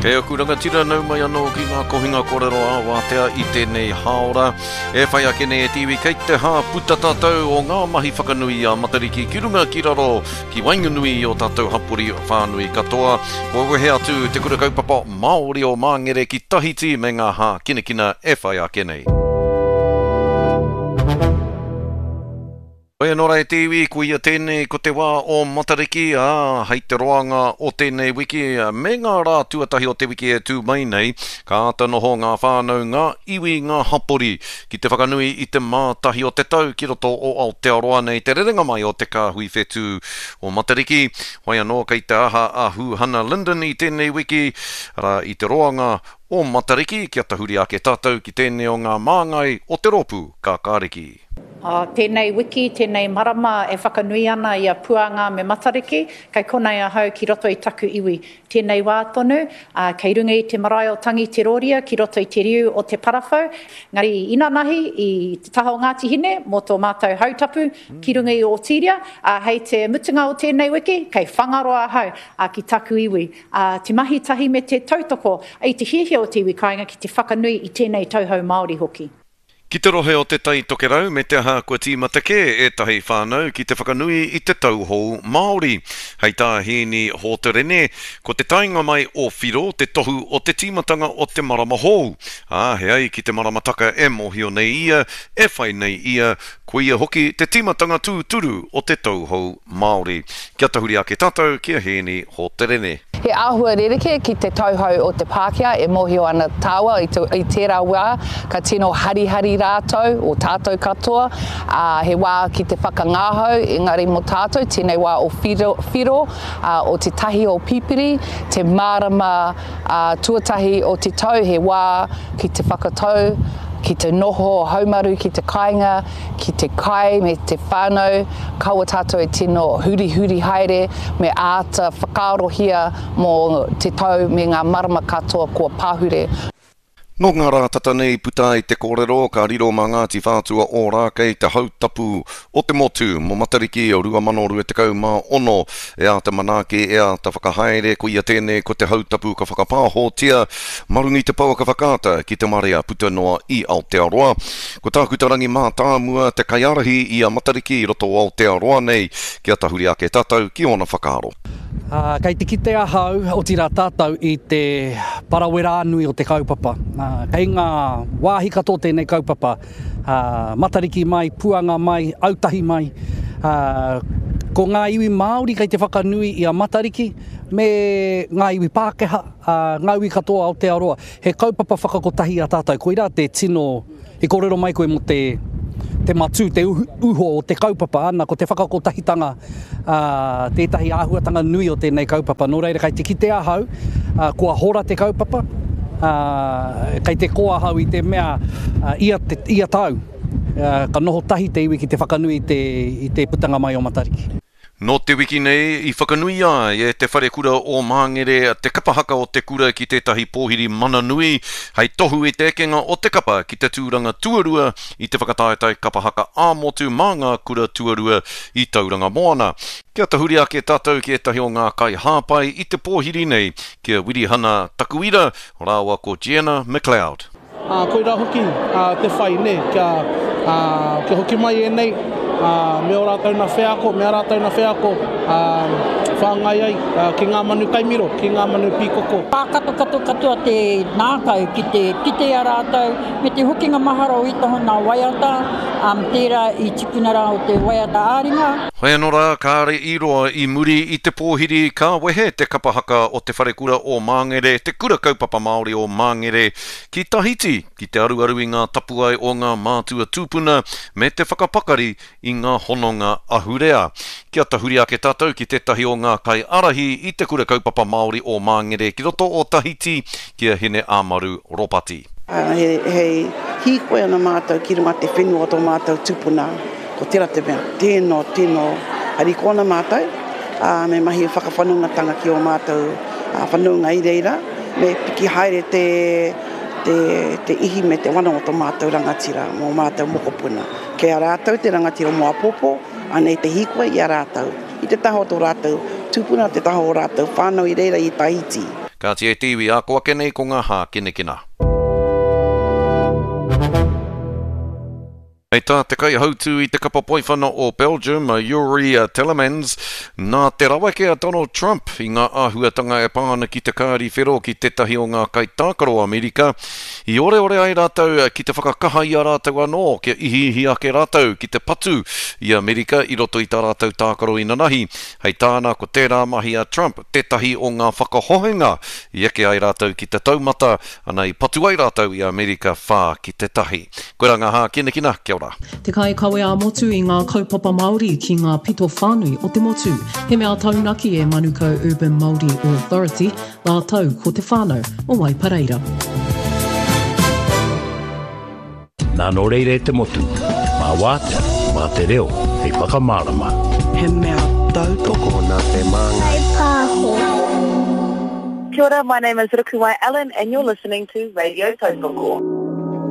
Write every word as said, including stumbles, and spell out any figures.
E aku rangatira nau mai anō ki ngā kohinga kōrero ā wātea i tēnei hāora. E whai ake nei e te iwi kei te hā puta tātou o ngā mahi whakanui a Matariki ki runga ki raro ki waenganui i o tātou hapori whānui katoa. Kua wehe atu te kura kaupapa Māori o Māngere ki Tahiti me ngā hākinakina e whai ake nei. Hoi anō rā e te iwi, ko ia tēnei ko te wā o Matariki, ā, hei te roanga o tēnei wiki, me ngā rā tuatahi o te wiki e tū mai nei, ka āta noho ngā whānau, ngā iwi, ngā hapori, ki te whakanui i te mātahi o te tau ki roto o Aotearoa nei te rerenga mai o te kāhui whetū o Matariki. Hoi anō kei te aha a Huhana Lyndon i tēnei wiki, arā i te roanga o Matariki, kia tahuri ake tātou ki tēnei o ngā māngai o te rōpū Kākāriki. Uh, tēnei wiki, tēnei marama e whakanui ana i a Puanga me Matariki, kei konei ahau ki roto i taku iwi. Tēnei wā tonu, uh, kei runga i te marae o Tangi Te Rōria, ki roto i te riu o Te Parawhau. Ngari inanahi i te taha o Ngāti Hine, mō tō mātou hautapu ki runga i Ōtīria, uh, hei te mutunga o tēnei wiki, kei Whangaroa ahau uh, ki taku iwi. Uh, te mahi tahi me te tautoko i te hiahia o te iwi kāinga ki te whakanui i tēnei tauhou Māori hoki. Ki te rohe o te Tai Tokerau me te aha kua tīmata kē ētahi whānau ki te whakanui i te tauhou Māori. Hei tā Hēni Hōterene, ko te taenga mai o Whiro te tohu o te tīmatanga o te marama hou. Ā, he ai ki te maramataka e mōhio nei ia, e whai nei ia, ko ia hoki te tīmatanga tūturu o te tauhou Māori. Kia tahuri ake tātou ki a Hēni Hōterene. He āhua rerekē ki te tauhou o te Pākehā e mōhio ana tāua i, te, i tērā wā, ka tino harihari rātou, o tātou katoa, ā, he wā ki te whakangahau, engari mō tātou, tēnei wā o whiro, whiro ā, o te tahi o Pipiri, te marama ā, tuatahi o te tau, he wā ki te whakatau, ki te noho haumaru ki te kāinga, ki te kai me te whānau, kaua tātou e tino hurihuri haere, me āta whakaarohia mō te tau me ngā marama katoa kua pahure. Nō ngā rā tata nei puta ai te kōrero, ka riro mā Ngāti Whātua Ōrākei te hautapu o te motu mō Matariki o rua mano rua tekau mā ono. E āta manaaki, e āta whakahaere, ko ia tēnei ko te hautapu ka whakapāhotia mā runga i te pouaka whakaata ki te marea puta noa i Aotearoa. Ko Tākuta Rangi Mātāmua te kaiārahi i a Matariki i roto o Aotearoa nei, kia tahuri ake tātou ki ōna whakaaro. Uh, kei te kite ahau, otirā tātou i te parawera nui o te kaupapa. Uh, kei ngā wāhi katoa tēnei kaupapa, uh, Matariki mai, Puanga mai, Autahi mai. Uh, ko ngā iwi Māori kei te whakanui i a Matariki, me ngā iwi Pākehā, uh, ngā iwi katoa Aotearoa. He kaupapa whakakotahi a tātou, koirā te tino, i kōrero mai koe mō te, te matū, te uho o te kaupapa, ana, ko te whakakotahitanga uh, tētahi āhuatanga nui o tēnei kaupapa. Nō reira, kei te kite ahau, uh, kua hora te kaupapa, uh, kei te ko ahau i te mea uh, ia, te, ia tau, uh, ka noho tahi te iwi ki te whakanui i te, i te putanga mai o Matariki. Nō te wiki nei i whakanui ai e te wharekura o Māngere te kapa haka o te kura ki tētahi pōhiri mana nui hei tohu i te ekenga o te kapa ki te tūranga tuarua i te whakataetae kapa haka ā-motu mā ngā kura tuarua i Tauranga Moana. Kia tahuri ake tātou ki ētahi o ngā kaihāpai i te pōhiri nei, ki a Wirihana Takuira rāua ko Gianna McLeod. Uh, koirā hoki uh, te whai, ne, kia, uh, kia hoki mai e nei, uh, me o rātou na wheako, me a rātou na wheako, uh, whāngai ai uh, ki ngā manu kaimiro, ki ngā manu pīkoko. Pākato kato katoa te nākau ki te kite a rātou, me te hokinga mahara o itaho nā waiata, um, tērā i tipuna rā o te waiata āringa. Hoi anō rā, kāre i roa i muri i te pōhiri ka wehe te kapa haka o te wharekura o Māngere, te kura kaupapa Māori o Māngere, ki Tahiti, ki te aruaru i ngā tapuae o ngā mātua tūpuna me te whakapakari i ngā hononga ahurea. Kia tahuri ake tātou ki tētahi o ngā kaiārahi i te kura kaupapa Māori o Māngere ki roto o Tahiti, ki a Hine Amaru Ropati. Uh, he, he hīkoi ana mātou ki runga te whenua o tō mātou tūpuna. Ko tērā te mea, tēno, tēno, hariko ana mātou, uh, me mahi whakawhanaungatanga ki o mātou uh, whanaunga i reira, me piki haere te, te, te ihi me te wana o tō mātou rangatira, mō mātou mokopuna. Kei a rātou te rangatira mō apopo, anei te hīkoi i a rātou. I te taha o tō rātou tūpuna, te taha o rātou whānau i reira i Tahiti. Kāti e te iwi, ā ko ake nei ko ngā hākinakina. Hei tā te kaihautū i te kapa poiwhana o Belgium, a Youri Tielemans, nā te raweke a Donald Trump i ngā āhuatanga e pā ana ki te kāri whero ki tētahi o ngā kaitākaro Amerika, i oreore ai rātou ki te whakakaha i a rātou anō, kia ihiihi ake rātou ki te patu i Amerika i roto i tā rātou tākaro inanahi. Hei tāna ko tērā mahi a Trump tētahi o ngā whakahohenga i eke ai rātou ki te taumata, ana i patu ai rātou i Amerika whā ki te tahi. Koirā ngā hākinakina, kia ora. Te kaikawe ā-motu i ngā kaupapa Māori ki ngā pito whānui o te motu. He mea taunaki e Manukau Urban Māori Authority, rātou ko te whānau o Waipareira. Nā nō reira e te motu, mā wātea, mā te reo, hei whakamārama. He mea tautoko nā te māngai. Pāho. Kia ora, my name is Rukuwai Allen and you're listening to Radio Tautoko.